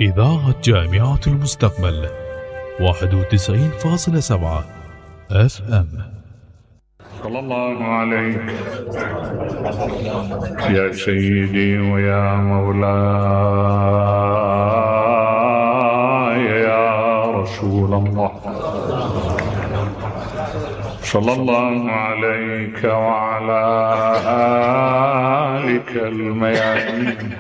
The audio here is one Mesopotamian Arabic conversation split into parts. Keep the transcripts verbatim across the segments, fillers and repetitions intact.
إذاعة جامعة المستقبل واحد وتسعين فاصلة سبعة اف ام. صلى الله عليك يا سيدي ويا مولاي يا رسول الله، صلى الله عليك وعلى آلك الميامين.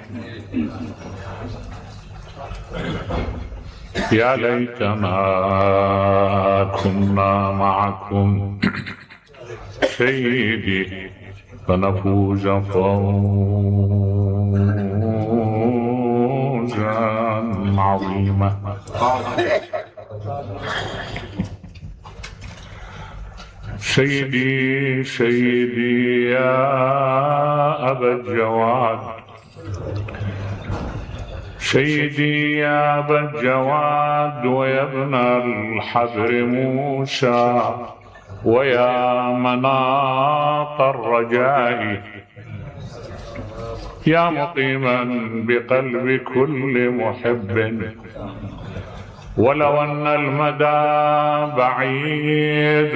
يا ليتنا كنا معكم سيدي فنفوز فوزا عظيما. سيدي سيدي يا أبا الجواد، سيدي يا أبا الجواد ويا ابن الحبر موسى ويا مناط الرجاء، يا مقيما بقلب كل محب ولو أن المدى بعيد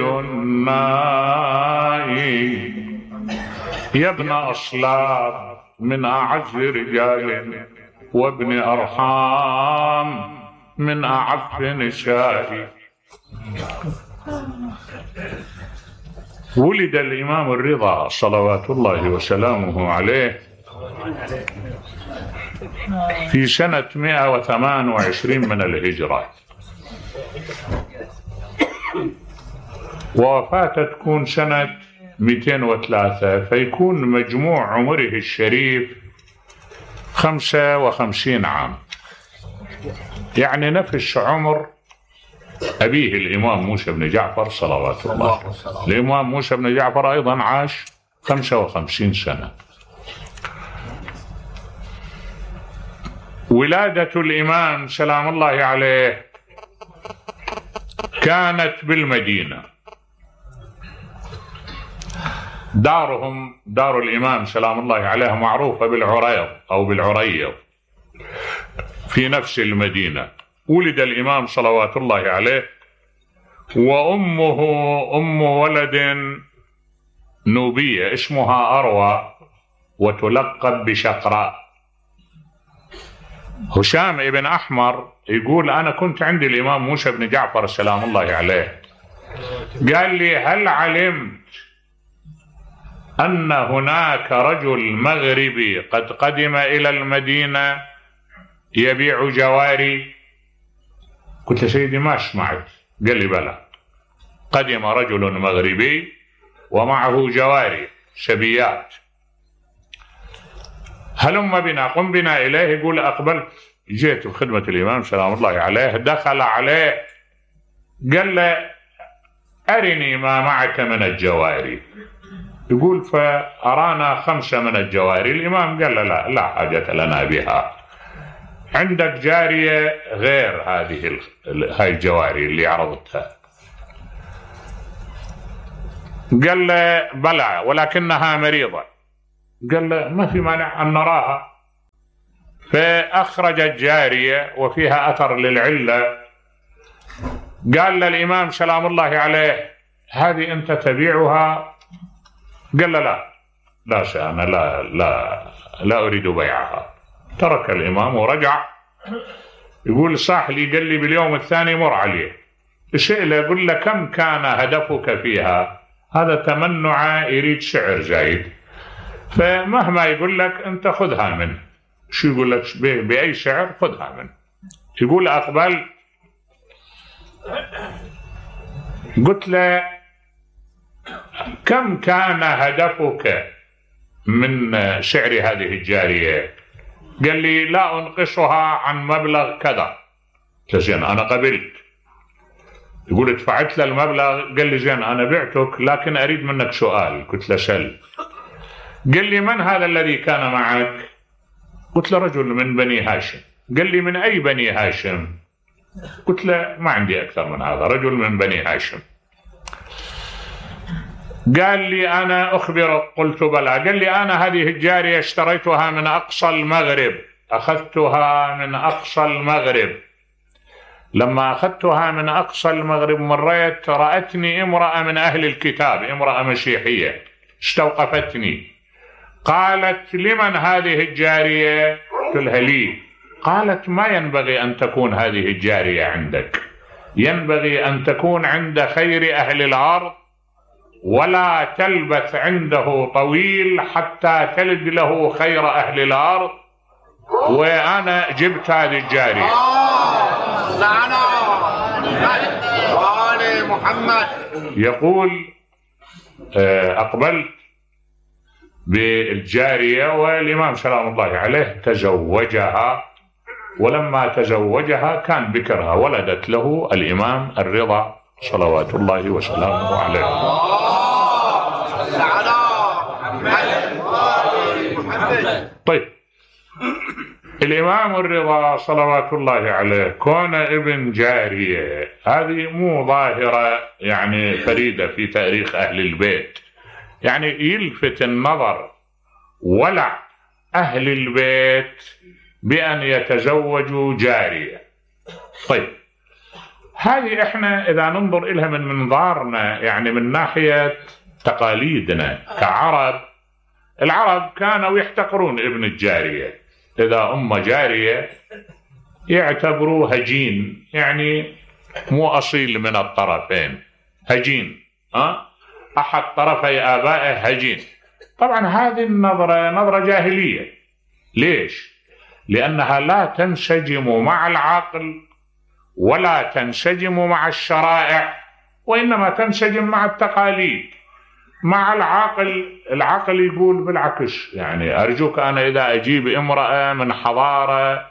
نائي، يا ابن أصلاب من أعز رجال وابن أرحام من أعف نسائي. ولد الإمام الرضا صلوات الله وسلامه عليه في سنة مئة وثمان وعشرين من الهجرة، ووفاته تكون سنة مئتين وثلاثة، فيكون مجموع عمره الشريف خمسة وخمسين عام، يعني نفس عمر أبيه الإمام موسى بن جعفر صلوات الله. الإمام موسى بن جعفر أيضا عاش خمسة وخمسين سنة. ولادة الإمام سلام الله عليه كانت بالمدينة، دارهم دار الإمام سلام الله عليه معروفة بالعريض أو بالعريض في نفس المدينة. ولد الإمام صلوات الله عليه وأمه أم ولد نوبية اسمها أروى وتلقب بشقراء. هشام ابن أحمر يقول أنا كنت عند الإمام موسى بن جعفر سلام الله عليه، قال لي هل علمت أن هناك رجل مغربي قد قدم إلى المدينة يبيع جواري؟ قلت سيدي ما سمعت. قال لي بلى، قدم رجل مغربي ومعه جواري سبيات، هلم بنا قم بنا إليه. يقول أقبلت جئت بخدمة الإمام سلام الله عليه، دخل عليه قال له أرني ما معك من الجواري. يقول فأرانا خمسة من الجواري. الإمام قال له لا لا حاجة لنا بها، عندك جارية غير هذه هاي الجواري اللي عرضتها؟ قال له بلى ولكنها مريضة. قال له ما في مانع أن نراها. فأخرج الجارية وفيها أثر للعلة. قال للإمام سلام الله عليه هذه أنت تبيعها؟ قال له لا لا شأن لا لا لا أريد بيعها. ترك الإمام ورجع. يقول صاح لي قال لي باليوم الثاني مر عليه سئله يقول له كم كان هدفك فيها؟ هذا تمنع يريد سعر زايد، فمهما يقول لك أنت خذها منه. شو يقول لك بأي سعر خذها منه. يقول أقبل قلت له كم كان هدفك من سعر هذه الجارية؟ قال لي لا أنقصها عن مبلغ كذا. زين أنا قبلت. يقول دفعت له المبلغ. قال لي زين أنا بعتك لكن أريد منك سؤال. قلت له سل. قال لي من هذا الذي كان معك؟ قلت له رجل من بني هاشم. قال لي من أي بني هاشم؟ قلت له ما عندي أكثر من هذا، رجل من بني هاشم. قال لي أنا أخبرك. قلت بلى. قال لي أنا هذه الجارية اشتريتها من أقصى المغرب أخذتها من أقصى المغرب. لما أخذتها من أقصى المغرب مريت رأتني امرأة من أهل الكتاب، امرأة مسيحية، استوقفتني. قالت: لمن هذه الجارية؟ قلت لها: لي. قالت: ما ينبغي أن تكون هذه الجارية عندك، ينبغي أن تكون عند خير أهل الأرض، ولا تلبث عنده طويل حتى تلد له خير أهل الأرض. وأنا جبت هذه الجارية. محمد يقول: أقبلت بالجارية، والإمام سلام الله عليه تزوجها، ولما تزوجها كان بكرها، ولدت له الإمام الرضا صلوات الله وسلامه عليه. طيب، الإمام الرضا صلوات الله عليه كون ابن جارية، هذه مو ظاهرة يعني فريدة في تاريخ أهل البيت، يعني يلفت النظر ولع أهل البيت بأن يتزوجوا جارية. طيب، هذه احنا إذا ننظر إلها من منظارنا، يعني من ناحية تقاليدنا كعرب، العرب كانوا يحتقرون ابن الجارية. إذا أم جارية يعتبروه هجين، يعني مو أصيل من الطرفين، هجين، أه؟ أحد طرفي آبائه هجين. طبعا هذه النظرة نظرة جاهلية. ليش؟ لأنها لا تنسجم مع العقل ولا تنسجم مع الشرائع، وإنما تنسجم مع التقاليد. مع العقل، العقل يقول بالعكس، يعني أرجوك أنا إذا أجيب امرأة من حضارة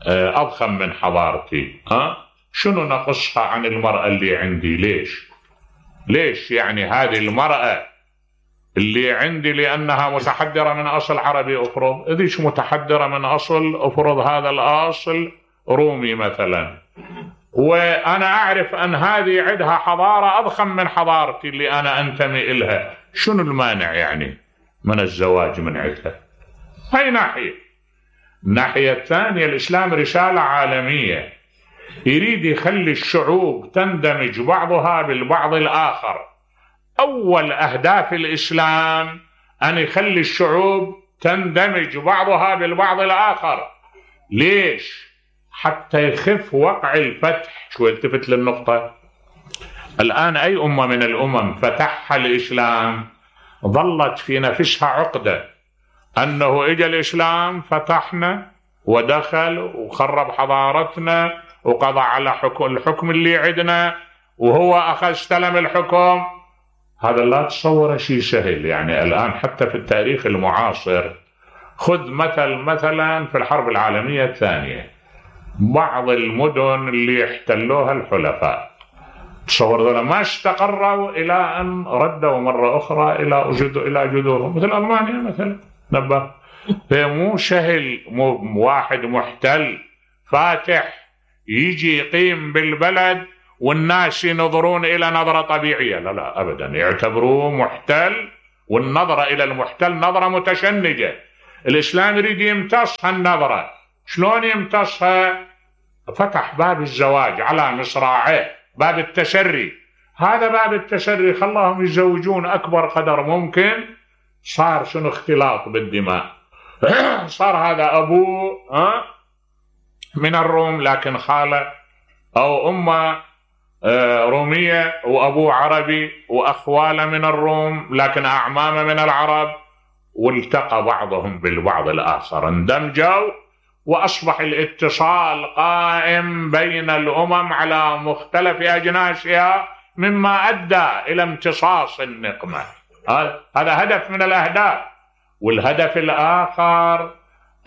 أضخم من حضارتي، أه؟ شنو نقصها عن المرأة اللي عندي؟ ليش؟ ليش يعني هذه المرأة اللي عندي لأنها متحدرة من أصل عربي أفرض، إذيش متحدرة من أصل أفرض هذا الأصل رومي مثلا، وأنا أعرف أن هذه عندها حضارة أضخم من حضارتي اللي أنا أنتمي إلها، شنو المانع يعني من الزواج من عندها؟ هاي ناحية. الناحية الثانية، الإسلام رسالة عالمية، يريد يخلي الشعوب تندمج بعضها بالبعض الآخر. أول أهداف الإسلام أن يخلي الشعوب تندمج بعضها بالبعض الآخر. ليش؟ حتى يخف وقع الفتح. شو التفت للنقطة، الآن أي أمة من الأمم فتحها الإسلام ظلت في نفسها عقدة أنه إجا الإسلام فتحنا ودخل وخرب حضارتنا وقضى على حكم الحكم اللي عندنا وهو أخذ استلم الحكم. هذا لا تصور شيء سهل. يعني الآن حتى في التاريخ المعاصر، خذ مثل مثلا في الحرب العالمية الثانية، بعض المدن اللي احتلوها الحلفاء، تصور ذولا ما استقروا إلى أن ردوا مرة أخرى إلى إلى جذورهم، مثل ألمانيا مثلا. نبه، هي مو سهل، مو واحد محتل فاتح يجي يقيم بالبلد والناس ينظرون إلى نظرة طبيعية، لا لا أبدا، يعتبروه محتل، والنظرة إلى المحتل نظرة متشنجة. الإسلام يريد يمتص هالنظرة. شلون يمتصها؟ فتح باب الزواج على مصراعيه، باب التسري. هذا باب التسري خلاهم يتزوجون أكبر قدر ممكن. صار شنو؟ اختلاط بالدماء. صار هذا أبوه من الروم لكن خالة، أو أمه رومية وأبوه عربي، وأخواله من الروم لكن أعمامه من العرب، والتقى بعضهم بالبعض الآخر، اندمجوا، وأصبح الاتصال قائم بين الأمم على مختلف أجناسها، مما أدى إلى امتصاص النقمة. هذا هدف من الأهداف. والهدف الآخر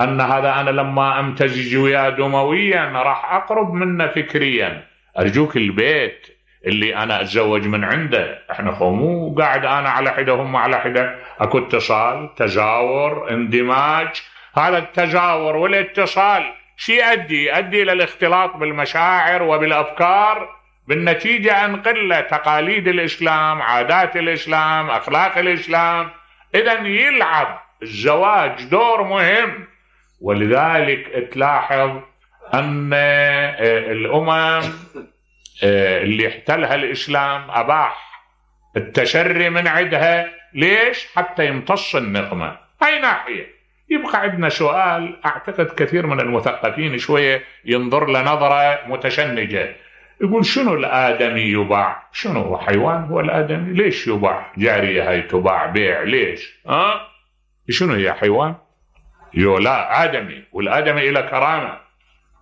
أن هذا أنا لما أمتزج وياه دمويا راح أقرب منه فكريا. أرجوك البيت اللي أنا أتزوج من عنده، إحنا مو قاعد أنا على حدة هم على حدة، أكو اتصال، تزاور، اندماج. هذا التزاور والاتصال شي يؤدي؟ يؤدي إلى الاختلاط بالمشاعر وبالأفكار، بالنتيجة أنقل تقاليد الإسلام، عادات الإسلام، أخلاق الإسلام. إذن يلعب الزواج دور مهم ولذلك تلاحظ أن الأمم اللي احتلها الإسلام أباح التشري من عندها. ليش؟ حتى يمتص النقمة. أي ناحية؟ يبقى عندنا سؤال أعتقد كثير من المثقفين شوية ينظر لنظرة متشنجة، يقول شنو الآدمي يباع؟ شنو حيوان هو الآدمي؟ ليش يباع؟ جارية هاي تباع بيع ليش؟ ها؟ شنو هي حيوان؟ يو لا آدمي، والآدمي إلى كرامة.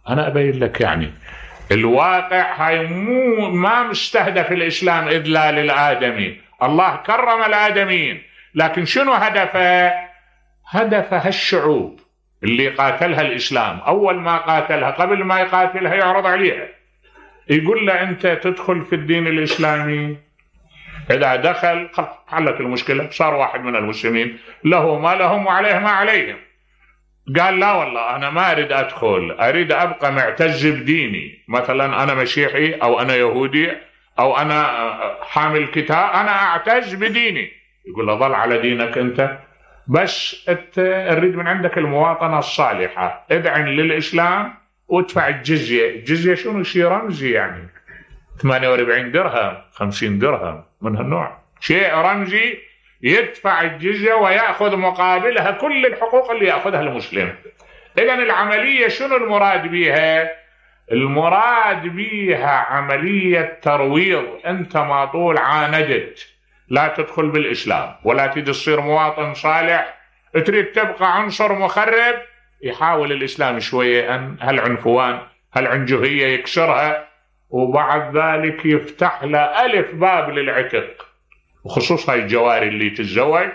أنا أبين لك يعني الواقع هاي مو ما مستهدف الإسلام إذ لا للآدمي. الله كرم الآدميين، لكن شنو هدفه؟ هدفها الشعوب اللي قاتلها الإسلام. أول ما قاتلها قبل ما يقاتلها يعرض عليها، يقول له أنت تدخل في الدين الإسلامي. إذا دخل حلت المشكلة، صار واحد من المسلمين له ما لهم وعليه ما عليهم. قال لا والله أنا ما أريد أدخل، أريد أبقى معتز بديني، مثلا أنا مسيحي أو أنا يهودي أو أنا حامل كتاب، أنا أعتز بديني. يقول له ظل على دينك أنت، بس أريد من عندك المواطنة الصالحة، ادعن للإسلام وادفع الجزية. الجزية شنو؟ شيء رمزي يعني ثمانية وأربعين درهم خمسين درهم من هالنوع، شيء رمزي. يدفع الجزية ويأخذ مقابلها كل الحقوق اللي يأخذها المسلم. إذن العملية شنو المراد بيها؟ المراد بيها عملية ترويض. أنت ما طول عاندت لا تدخل بالإسلام ولا تريد تصير مواطن صالح، تريد تبقى عنصر مخرب، يحاول الإسلام شوية أن هالعنفوان هالعنجهية يكسرها، وبعد ذلك يفتح له ألف باب للعتق، وخصوصا الجواري اللي تتزوج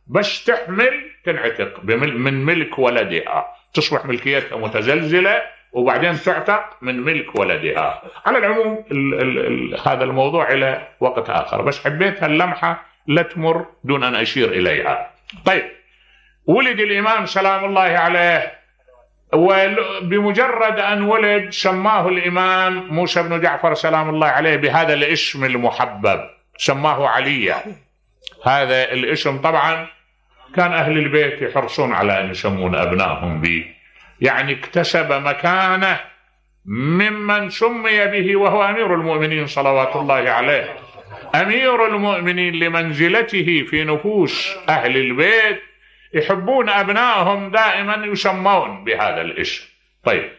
بس تحمل تنعتق من ملك ولدها، تصبح ملكيتها متزلزلة وبعدين تعتق من ملك ولدها. على العموم ال ال ال هذا الموضوع إلى وقت آخر، بس حبيت هاللمحة لا تمر دون أن أشير إليها. طيب، ولد الإمام سلام الله عليه، وبمجرد أن ولد سماه الإمام موسى بن جعفر سلام الله عليه بهذا الاسم المحبب، سماه عليا. هذا الاسم طبعا كان أهل البيت يحرصون على أن يسمون أبنائهم به، يعني اكتسب مكانه ممن سمي به وهو أمير المؤمنين صلوات الله عليه. أمير المؤمنين لمنزلته في نفوس أهل البيت يحبون أبنائهم دائما يسمون بهذا الاسم. طيب،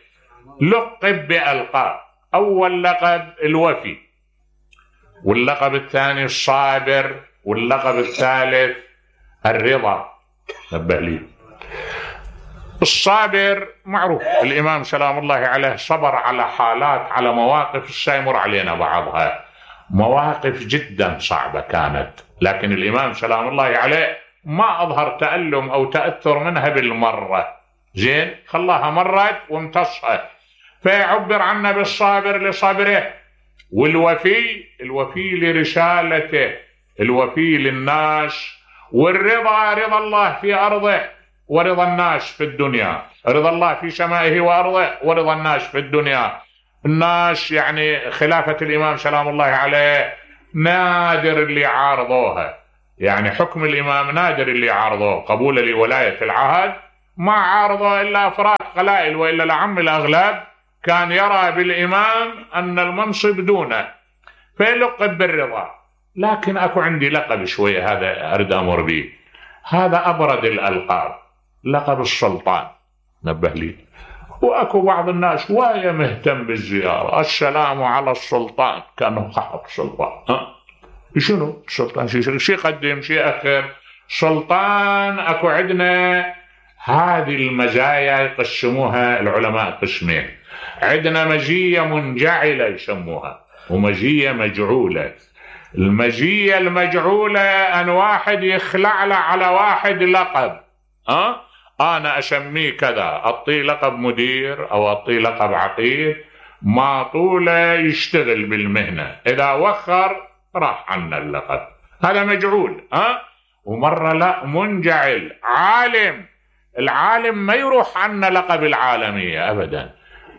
لقب بألقاب. أول لقب الوفي، واللقب الثاني الصابر، واللقب الثالث الرضا. نبه لي، الصابر معروف، الإمام سلام الله عليه صبر على حالات، على مواقف سيمر علينا بعضها، مواقف جدا صعبة كانت، لكن الإمام سلام الله عليه ما أظهر تألم أو تأثر منها بالمرة. زين، خلاها مرت وامتصها، فيعبر عنه بالصابر لصبره، والوفي الوفي لرسالته، الوفي للناس، والرضا رضا الله في أرضه ورضا الناس في الدنيا، رضا الله في سمائه وأرضه ورضا الناس في الدنيا. الناس يعني خلافة الإمام سلام الله عليه نادر اللي عارضوها، يعني حكم الإمام نادر اللي عارضوه، قبول لولاية العهد ما عارضه إلا أفراد قلائل، وإلا لعم الأغلب كان يرى بالإمام أن المنصب دونه، فيلقب بالرضا. لكن أكو عندي لقب شوية هذا أريد أمر به، هذا أبرد الألقاب، لقب السلطان. نبه لي، وأكو بعض الناس وهي مهتم بالزيارة، السلام على السلطان، كأنه خحب السلطان. أه؟ شنو السلطان؟ شي شي قدم شي أخر. سلطان أكو عندنا هذه المزايا يقسموها العلماء قسمين، عندنا مزية منجعلة يسموها، ومزية مجعولة. المزية المجعولة أن واحد يخلع له على واحد لقب، أه؟ أنا أسميه كذا، أعطيه لقب مدير أو أعطيه لقب عقيد، ما طوله يشتغل بالمهنة، إذا وخر راح عنا اللقب، هذا مجعول. أه؟ ومرة لا، منجعل، عالم، العالم ما يروح عنا لقب العالمية أبدا،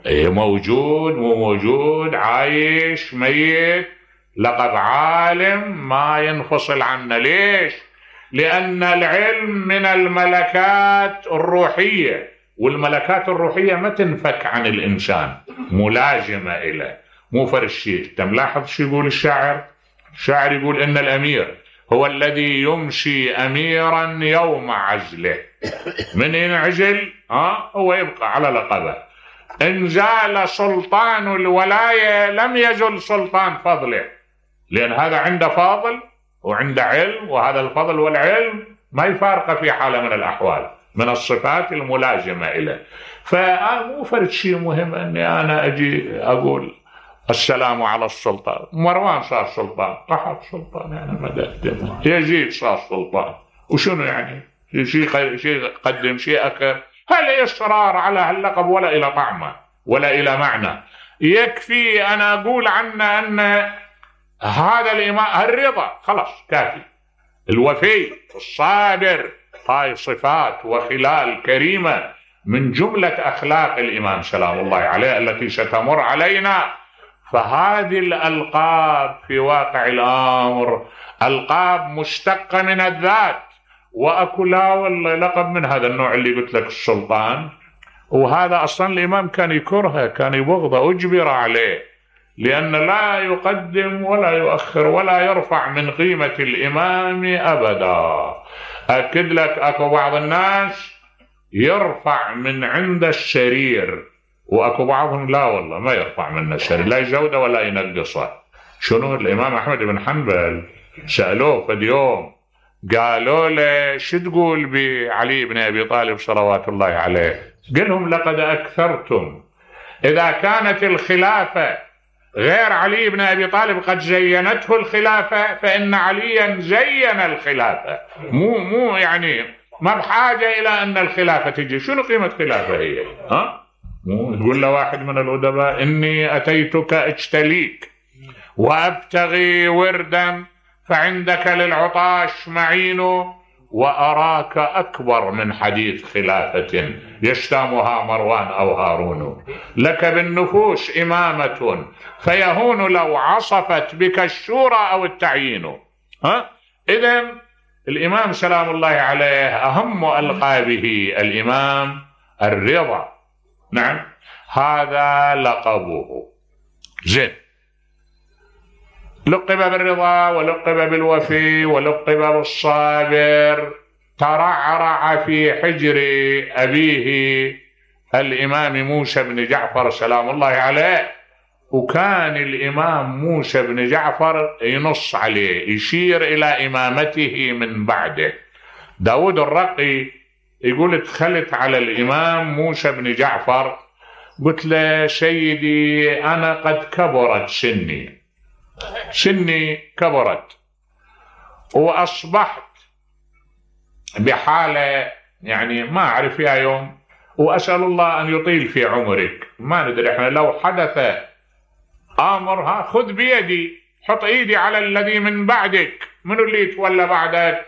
موجود مو موجود، عايش ميت، لقب عالم ما ينفصل عنا. ليش؟ لأن العلم من الملكات الروحية، والملكات الروحية ما تنفك عن الإنسان، ملازمة إليه، مو فرق شيء. أنت ملاحظ شو يقول الشاعر؟ الشاعر يقول إن الأمير هو الذي يمشي أميرا يوم عزله. من ينعزل ها هو يبقى على لقبه. إن زال سلطان الولاية لم يزل سلطان فضله، لأن هذا عنده فاضل وعنده علم، وهذا الفضل والعلم ما يفارقه في حالة من الأحوال، من الصفات الملازمة إليه. فمو فرد شيء مهم أني أنا أجي أقول السلام على السلطان. مروان صار سلطان، قحط سلطان يعني ما قدم، يزيد صار سلطان، وشنو يعني؟ شيء شيء قدم شيء أخر. هل إصرار على هاللقب ولا إلى طعمه ولا إلى معنى. يكفي أنا أقول عنه أن هذا الإمام الرضا خلاص كافي، الوفي الصابر، هاي صفات وخلال كريمة من جملة أخلاق الإمام سلام الله عليه التي ستمر علينا. فهذه الألقاب في واقع الأمر ألقاب مشتقة من الذات، وأكو لا والله لقب من هذا النوع اللي قلت لك السلطان، وهذا أصلا الإمام كان يكرهه، كان يبغضه، أجبر عليه، لأن لا يقدم ولا يؤخر ولا يرفع من قيمة الإمام أبدا. أكد لك أكو بعض الناس يرفع من عند السرير، وأكو بعضهم لا والله ما يرفع من السرير، لا يزوده ولا ينقصه. شنو الإمام أحمد بن حنبل سألوه في اليوم قالوا له شو تقول بعلي بن أبي طالب صلوات الله عليه؟ قال لهم لقد أكثرتم. إذا كانت الخلافة غير علي بن أبي طالب قد زينته الخلافة، فإن عليا زين الخلافة، مو مو يعني ما بحاجة إلى أن الخلافة تجي. شنو قيمة خلافة هي؟ ها؟ مو تقول له واحد من الأدباء إني أتيتك أجتليك وأبتغي وردا فعندك للعطاش معين، وأراك أكبر من حديث خلافة يشتامها مروان أو هارون. لك بالنفوس إمامة فيهون لو عصفت بك الشورى أو التعيين. ها؟ إذن الإمام سلام الله عليه أهم ألقابه الإمام الرضا. نعم هذا لقبه. زين، لقب بالرضا ولقب بالوفي ولقب بالصابر. ترعرع في حجر أبيه الإمام موسى بن جعفر سلام الله عليه، وكان الإمام موسى بن جعفر ينص عليه، يشير إلى إمامته من بعده. داود الرقي يقول دخلت على الإمام موسى بن جعفر قلت له سيدي أنا قد كبرت سني، سني كبرت وأصبحت بحالة يعني ما أعرف فيها يوم، وأسأل الله أن يطيل في عمرك. ما ندري إحنا لو حدث أمرها خذ بيدي، حط إيدي على الذي من بعدك، منو اللي يتولى بعدك؟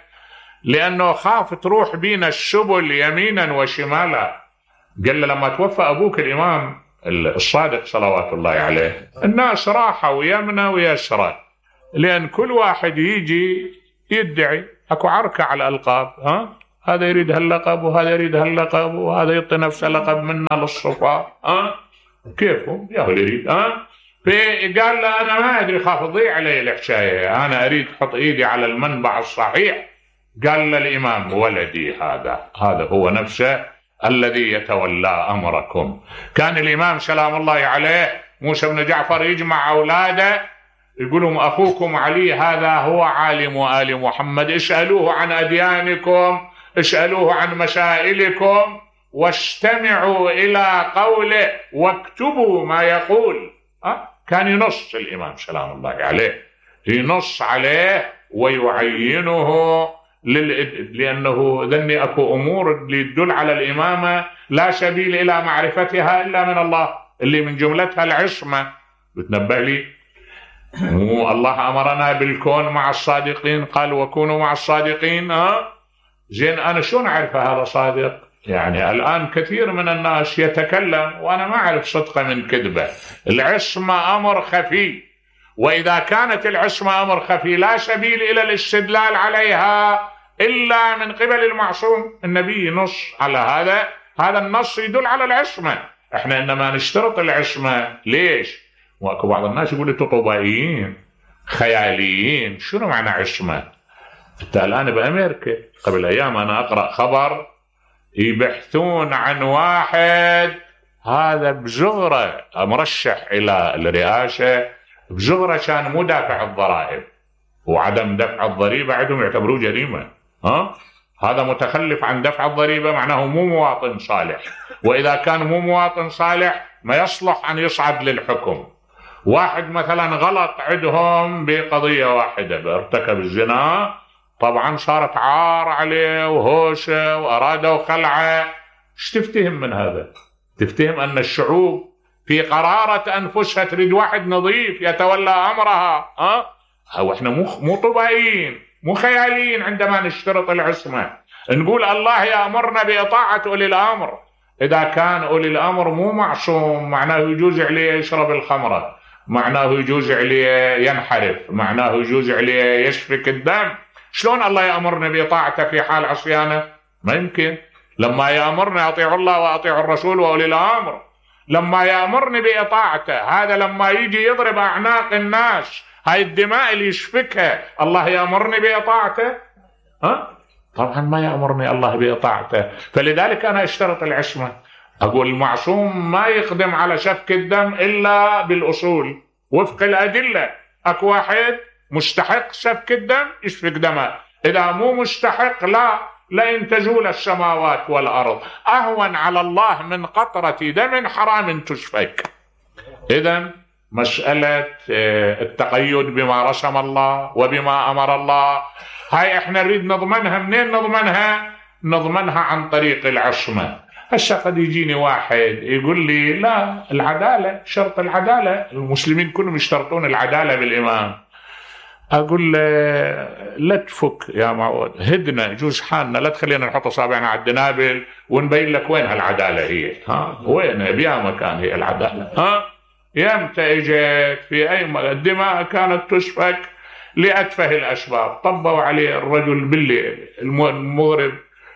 لأنه خاف تروح بينا السبل يمينا وشمالا. قال له لما توفى أبوك الإمام الصادق صلوات الله عليه الناس راحوا يمنى ويسرى، لأن كل واحد يجي يدعي، أكو عركة على الألقاب. ها؟ هذا يريد هاللقب وهذا يريد هاللقب وهذا يعطي نفسه لقب منا للصفاء. ها؟ كيفهم يا هو يريد. ها؟ فقال له أنا ما أدري، خاف تضيع علي الحكاية، أنا أريد أحط إيدي على المنبع الصحيح. قال له الإمام ولدي هذا هذا هو نفسه الذي يتولى أمركم. كان الإمام سلام الله عليه موسى بن جعفر يجمع أولاده يقولهم أخوكم علي هذا هو عالم آل محمد، اسألوه عن أديانكم، اسألوه عن مسائلكم، واستمعوا إلى قوله واكتبوا ما يقول. أه؟ كان ينص الإمام سلام الله عليه، ينص عليه ويعينه لل... لأنه ذني أكو أمور اللي تدل على الإمامة لا سبيل إلى معرفتها إلا من الله، اللي من جملتها العصمة. بتنبه لي مو الله أمرنا بالكون مع الصادقين، قال وكونوا مع الصادقين. ها زين أنا شلون أعرف هذا صادق؟ يعني الآن كثير من الناس يتكلم وأنا ما أعرف صدقه من كذبه. العصمة أمر خفي، وإذا كانت العصمة أمر خفي لا سبيل إلى الاستدلال عليها إلا من قبل المعصوم. النبي نص على هذا هذا النص يدل على العصمة. احنا انما نشترط العصمة ليش؟ واكو بعض الناس يقول انتم طبائيين خياليين. شنو معنى عصمة؟ انت الان بامريكا قبل ايام انا اقرا خبر يبحثون عن واحد هذا بزغره مرشح الى الرئاسه، بزغره كان مو دافع الضرائب، وعدم دفع الضريبه عندهم يعتبروه جريمه. ها هذا متخلف عن دفع الضريبه، معناه مو مواطن صالح، واذا كان مو مواطن صالح ما يصلح ان يصعد للحكم. واحد مثلا غلط عندهم بقضيه واحده، ارتكب الزنا، طبعا صارت عار عليه وهوشه وارادوا خلعه. ايش تفتهم من هذا؟ تفتهم ان الشعوب في قرارة انفسها تريد واحد نظيف يتولى امرها. ها أو احنا مو مو طبيعيين مو خياليين عندما نشترط العصمه. نقول الله يامرنا باطاعه اولي الامر. اذا كان اولي الامر مو معصوم معناه يجوز عليه يشرب الخمره، معناه يجوز عليه ينحرف، معناه يجوز عليه يسفك الدم. شلون الله يأمرنا بطاعته في حال عصيانه؟ ما يمكن. لما يأمرنا أطيعوا الله وأطيعوا الرسول وأولي الأمر، لما يأمرني بإطاعته، هذا لما يجي يضرب أعناق الناس، هاي الدماء اللي يسفكها، الله يأمرني بإطاعته؟ ها؟ طبعا ما يأمرني الله بإطاعته. فلذلك أنا اشترط العصمة. أقول المعصوم ما يقدم على سفك الدم إلا بالأصول وفق الأدلة. أكو واحد مستحق سفك الدم يسفك دمه، إذا مو مستحق لا لئن تزول السماوات والأرض أهون على الله من قطرة دم حرام تسفك. إذن مسألة التقيد بما رسم الله وبما أمر الله هاي احنا نريد نضمنها. منين نضمنها؟ نضمنها عن طريق العصمة. هسه قد يجيني واحد يقول لي لا العدالة، شرط العدالة، المسلمين كلهم يشترطون العدالة بالإمام. أقول له لا تفك يا معود، هدنا جوز حالنا، لا تخلينا نحط أصابعنا على الدنابل ونبين لك وين هالعدالة هي. ها وين بيا مكان هي العدالة؟ ها يمتى اجت في أي م... الدماء كانت تسفك لأتفه الأسباب. طبوا عليه الرجل بالليل المغرب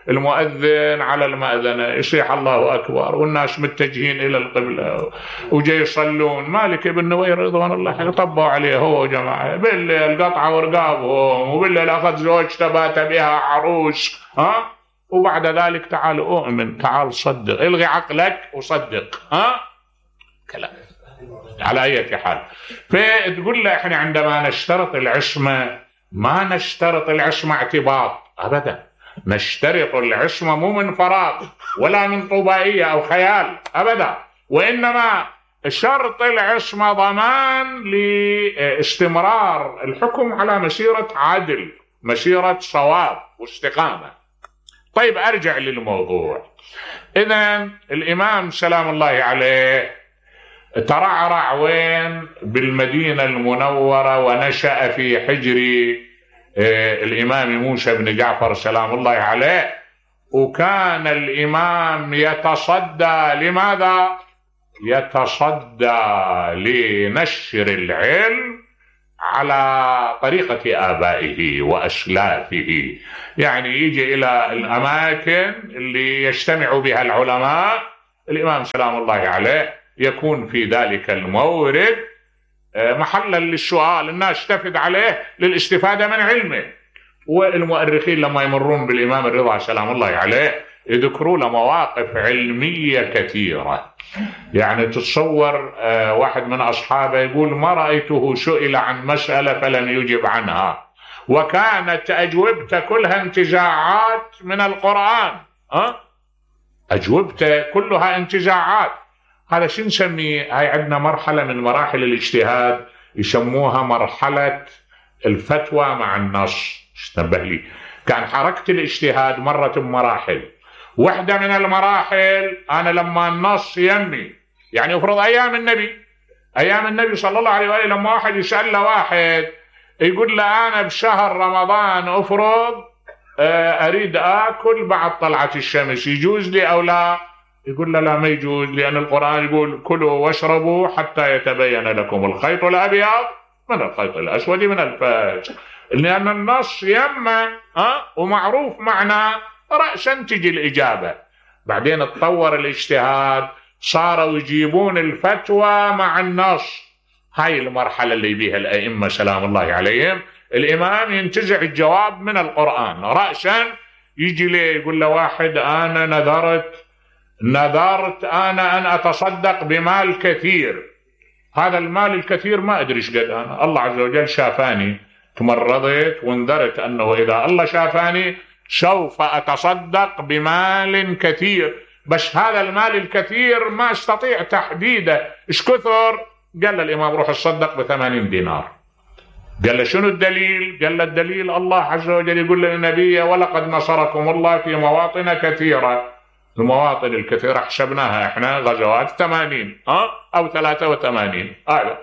المؤذن على المأذنة يصيح الله أكبر والناس متجهين إلى القبلة وجاي يصلون، مالك بن نوير رضوان الله طبوا عليه هو جماعة بالليل قطعوا ورقابهم، وبالليل أخذ زوجته بات بها عروس. ها وبعد ذلك تعال أؤمن، تعال صدق، الغي عقلك وصدق. ها كلام على أي حال. فتقول له احنا عندما نشترط العصمة ما نشترط العصمة اعتباط أبدا، نشترط العصمة مو من فراغ ولا من طبائية أو خيال أبدا، وإنما شرط العصمة ضمان لاستمرار الحكم على مسيرة عدل، مسيرة صواب واستقامة. طيب أرجع للموضوع. إذن الإمام سلام الله عليه ترعرع وين؟ بالمدينة المنورة، ونشأ في حجر الإمام موسى بن جعفر سلام الله عليه. وكان الإمام يتصدى لماذا؟ يتصدى لنشر العلم على طريقة آبائه وأسلافه، يعني يجي إلى الأماكن اللي يجتمع بها العلماء، الإمام سلام الله عليه يكون في ذلك المورد محلا للسؤال، الناس تفد عليه للاستفادة من علمه. والمؤرخين لما يمرون بالإمام الرضا سلام الله عليه يذكروا له مواقف علمية كثيرة. يعني تتصور واحد من أصحابه يقول ما رأيته سئل عن مسألة فلم يجب عنها، وكانت أجوبته كلها انتزاعات من القرآن. أه؟ أجوبته كلها انتزاعات. هذا شو نسميه؟ هاي عندنا مرحلة من مراحل الاجتهاد يسموها مرحلة الفتوى مع النص. اشتبه لي كان حركة الاجتهاد مرة بمراحل. واحدة من المراحل أنا لما النص يمي، يعني افرض أيام النبي أيام النبي صلى الله عليه وآله لما واحد يسأل له واحد يقول له أنا بشهر رمضان أفرض أريد آكل بعد طلعة الشمس، يجوز لي أو لا؟ يقول له لا ما يجوز، لأن القرآن يقول كلوا واشربوا حتى يتبين لكم الخيط الأبيض من الخيط الأسود من الفجر، لأن النص يما أه؟ ومعروف معنى رأسا تجي الإجابة. بعدين تطور الاجتهاد، صاروا يجيبون الفتوى مع النص. هاي المرحلة اللي بيها الأئمة سلام الله عليهم. الإمام ينتزع الجواب من القرآن رأسا، يجي ليه يقول له واحد أنا نذرت نذرت أنا أن أتصدق بمال كثير، هذا المال الكثير ما أدري ايش قد أنا، الله عز وجل شافاني، تمرضت وانذرت أنه إذا الله شافاني سوف أتصدق بمال كثير، بس هذا المال الكثير ما استطيع تحديده ايش كثر. قال له الإمام روح تصدق بثمانين دينار. قال له شنو الدليل؟ قال له الدليل الله عز وجل يقول للنبي ولقد نصركم الله في مواطن كثيرة. المواطن الكثيرة حسبناها احنا غزوات ثمانين أه؟ أو ثلاثة وثمانين هذا.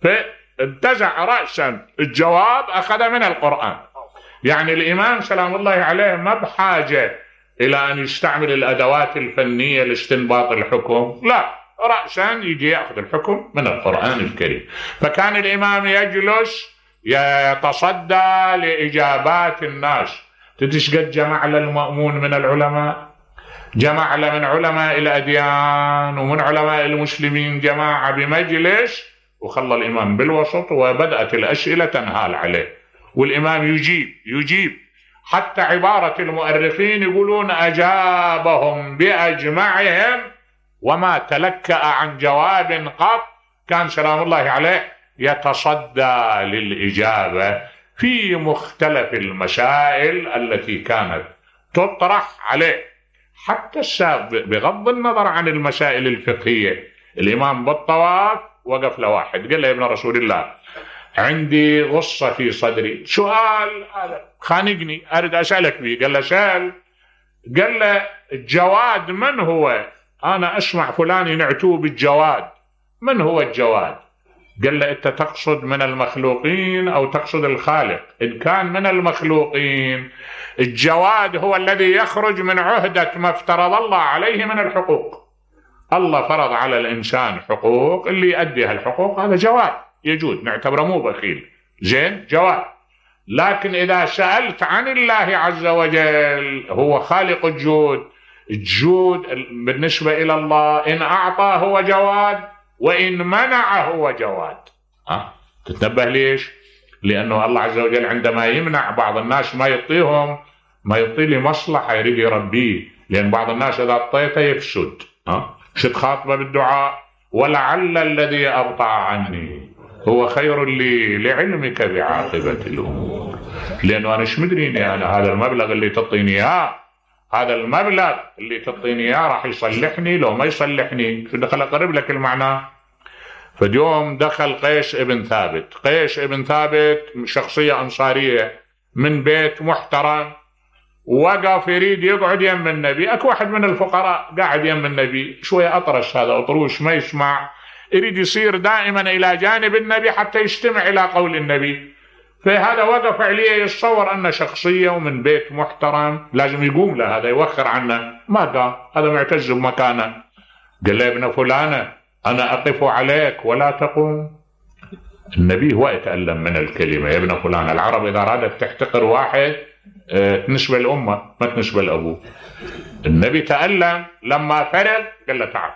فانتزع رأسا الجواب أخذ من القرآن. يعني الإمام سلام الله عليه ما بحاجة إلى أن يستعمل الأدوات الفنية لاستنباط الحكم، لا، رأسا يجي يأخذ الحكم من القرآن الكريم. فكان الإمام يجلس يتصدى لإجابات الناس. تدش قد جمع للمأمون من العلماء، جمع له من علماء الأديان ومن علماء المسلمين جماعة بمجلس، وخلى الإمام بالوسط وبدأت الأسئلة تنهال عليه، والإمام يجيب يجيب حتى عبارة المؤرخين يقولون أجابهم بأجمعهم وما تلكأ عن جواب قط. كان سلام الله عليه يتصدى للإجابة في مختلف المسائل التي كانت تطرح عليه، حتى السابق بغض النظر عن المسائل الفقهية. الإمام بالطواف وقف لواحد قال له يا ابن رسول الله عندي غصة في صدري، سؤال هذا خانقني أريد أسألك به. قال له سأل. قال له الجواد من هو؟ أنا أسمع فلان ينعتوه بالجواد، من هو الجواد؟ قال له أنت تقصد من المخلوقين أو تقصد الخالق؟ إن كان من المخلوقين الجواد هو الذي يخرج من عهدة ما افترض الله عليه من الحقوق. الله فرض على الإنسان حقوق، اللي يؤدي هالحقوق هذا جواد يجود، نعتبره مو بخيل، زين جواد. لكن إذا سألت عن الله عز وجل هو خالق الجود، الجود بالنسبة إلى الله إن أعطى هو جواد وإن منع هو جواد. أه؟ تتنبه ليش؟ لأنه الله عز وجل عندما يمنع بعض الناس ما يعطيهم، ما يعطي لي مصلحة يريد يربيه، لأن بعض الناس إذا أعطيته يفسد. أه؟ شد خاطبه بالدعاء ولعل الذي أبطأ عني هو خير لي لعلمك بعاقبة الأمور. لأنه أنا شو مدريني أنا هذا المبلغ اللي تعطيني إياه، هذا المبلغ اللي تعطيني إياه راح يصلحني لو ما يصلحني، شو دخل أقرب لك المعنى. فاليوم دخل قيس ابن ثابت. قيس ابن ثابت شخصية أنصارية من بيت محترم، وقف يريد يقعد يم النبي. أكو واحد من الفقراء قاعد يم النبي شوية أطرش، هذا أطروش ما يسمع، يريد يصير دائما إلى جانب النبي حتى يستمع إلى قول النبي. فهذا وقف عليه يتصور أن شخصية ومن بيت محترم لازم يقوم له، هذا يوخر عنه، ما قام، هذا معتز بمكانه. قال له ابن فلانة أنا أقف عليك ولا تقوم. النبي هو يتألم من الكلمة يا ابن فلان. العرب إذا أرادت تحتقر واحد تنسبة الأمة ما تنسبة الأبو. النبي تألم لما فرغ قال له تعال